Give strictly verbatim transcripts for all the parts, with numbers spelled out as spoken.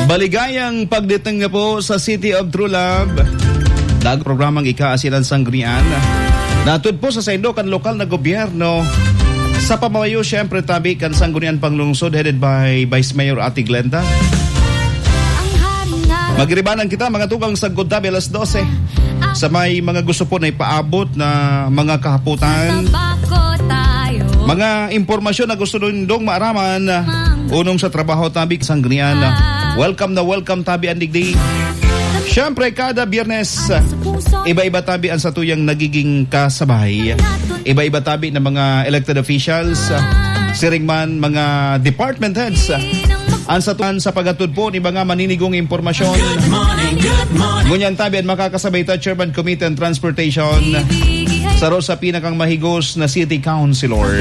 Maligayang pagdating na po sa City of True Love. Dag programang Ika Asin an Sanggunian. Natud po sa saindo kan lokal na gobyerno sa pamayo, siyempre, tabi kan Sanggunian Panglungsod, headed by Vice Mayor Ate Glenda. Magiribanan kita, mga tugang, sagkod tabi alas dose. Sa may mga gusto po na ipaabot na mga kahapotan, mga impormasyon na gusto nindong maaraman, unong sa trabaho tabi kan Sanggunian. Welcome na welcome tabi an digdi. Siyempre, kada Biyernes, iba-iba tabi ang satuyang nagiging kasabay. Iba-iba tabi ng mga elected officials, siring man mga department heads. Ang satuan sa paghatod po ni mga maninigong impormasyon. Good morning, good morning. Ngunyan tabi ang makakasabay ta, Chairman Committee on Transportation. Saro sa pinakang mahigos na city councilor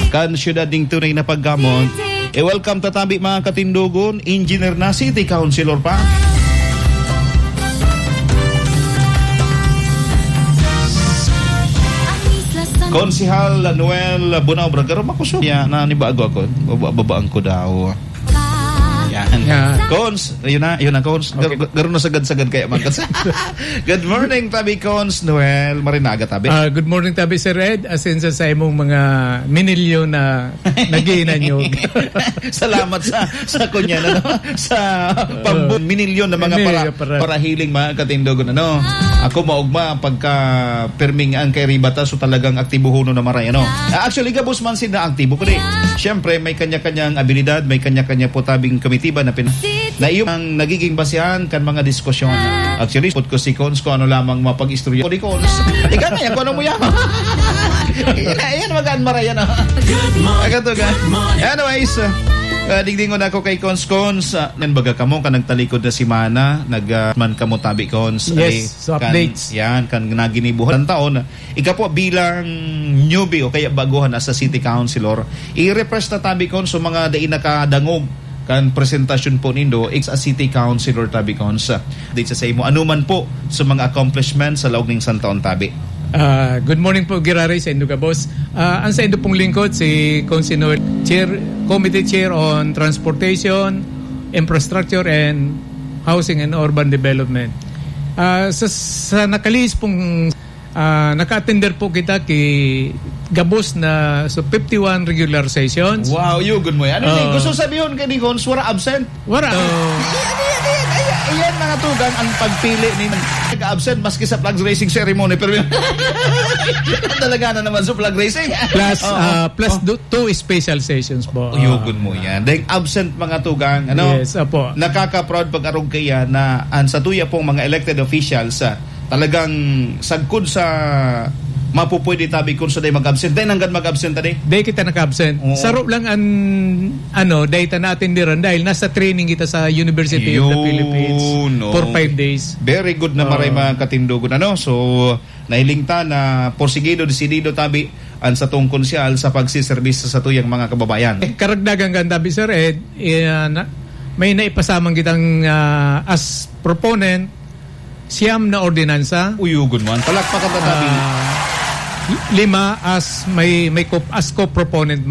kan siyudad ning tunay na paggamot. I-welcome ta tabi, mga katindogon, engineer na, city councilor pa. Konsehal Noel Bunaw Bragaro, makusog. Ya, nanibago ako. Baba-, babaan ko daw. Yan. Yan. Cons, yun na, yun na, Cons. Gar-, Okay. gar-, garo na sagad-sagad kaya man. Good morning, tabi Cons Noel. Marinaga, tabi. Ah, good morning, tabi Sir Ed. Asin sa, sa imong mga minilyon na nag-iinanyog. Salamat sa, sa kunyan, ano, sa pambu-, Oo. minilyon na mga Minilyon para, para. para hiling, mga katindogon, ano. Ako maugma pagka perming ang kay Ribata, so talagang aktibo huno na maray, ano. Ah, actually, gabos man sila aktibo, kundi, siyempre, may kanya-kanyang abilidad, may kanya-kanya po tabing komitiba na pin-, na iyo ang nagiging basehan kan mga diskusyon. Actually, put ko si Cons kung ano lamang mapag-istorya ko ni Cons. Ikaw na yan, kung ano mo yan. Ayan, ayan, magaan maray, ano. Good morning. Agad to, ga. Good morning. Anyways, uh, digdingon ako kay Cons, Cons, uh, nan baga kamo ka nagtalikod na semana, nag, uh, man kamo tabi, Cons. Yes, Ali, so kan, updates. Yan, kan naginibuhan taon. Ika po bilang newbie o kaya baguhan as a city councilor, i-refresh ta tabi, Cons, sa mga dai nakadangog kan presentasyon po nindo, ex a city councilor tabi, Cons, sa, di sa, sa imo, ano man po sa mga accomplishments sa laog ning isang taon tabi. Ah, good morning po, Giraray, sa indo gabos. Ah, ang sa indo pong lingkod, si Cons Noel, Chair, Committee Chair on Transportation, Infrastructure, and Housing and Urban Development. Ah, sa, sa nakalihis pong, ah, naka-attender po kita ki gabos na, so, fifty-one regular sessions. Wow, yugon mo yan. Ano ni? Oo. Gusto sabihin ka ni Cons, wala absent? Wala. Oo. Ayan, ayan, ayan, ayan, ayan, mga tugang, ang pagpili ni nag-absent maski sa flag raising ceremony, pero talaga na naman sa flag raising. Plus, Oo. ah, plus Oh. do-, two special sessions po. Uyugon mo yan. Dahil absent, mga tugang, ano? Yes, apo. Nakaka-proud pag-arog kaya na ang sa tuya pong mga elected officials, ah, talagang sagkod sa mapupwede tabi kung sa day mag-absent. Dahil hanggang mag-absent, tadi? Day kita nag-absent. Oo. Saro lang ang, ano, day ta na-attenderan dahil nasa training kita sa University of the Yun, Philippines no. for five days. Very good na Oo. maray, mga katindogon, ano? So, nahiling ta na porsigido, desidido tabi ang satong konsehal sa pagsiserbisyo sa satuyang mga kababayan. Eh, karagdagan kan tabi, Sir Ed, eh, na, may naipasamang kitang, ah, as proponent, siyam na ordinansa. Uyugon mo. Palakpakan ta tabi. Ah, lima as may, may co-, as co-proponent